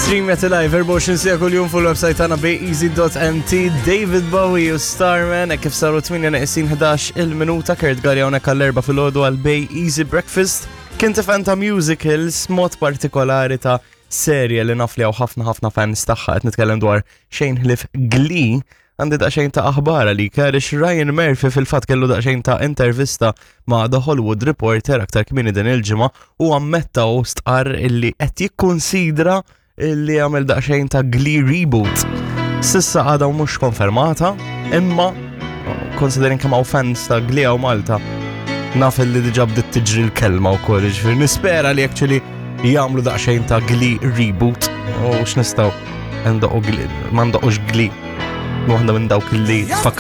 Stream jagħti live 24 sija kuljum fuq il-website tagħna bayeasy.mt David Bowie u Starman hekk kif saru 8 neqsin 11 il-minuta Kurt Galli hawnhekk għall-erba' filgħodu għal Bay Easy Breakfast. Kien tifan ta' musicals mod partikolari ta' serje li naf li hawn ħafna ħafna fans tagħha qed nitkellem dwar xejn ħlief Glee. Għandi daqsxejn ta' aħbar għalik għaliex Ryan Murphy fil-fatt kellu daqsxejn ta' intervista ma' The Hollywood Reporter aktar kmieni din il-ġimgħa u ammetta u stqarr illi qed jikkunsidra illi għamel daqsxejn ta' Glee reboot. Sissa għadha mhux konfermata, imma considering kemm hawn fans ta' Glee hawn Malta, naf illi diġà bdiet tiġri l-kelma wkoll, jiġifieri nispera li actually jagħmlu daqsxejn ta' Glee reboot u x'nistgħu ndoqqu Glee, ma ndoqqux Glee. Waħda minn dawk li tfakkar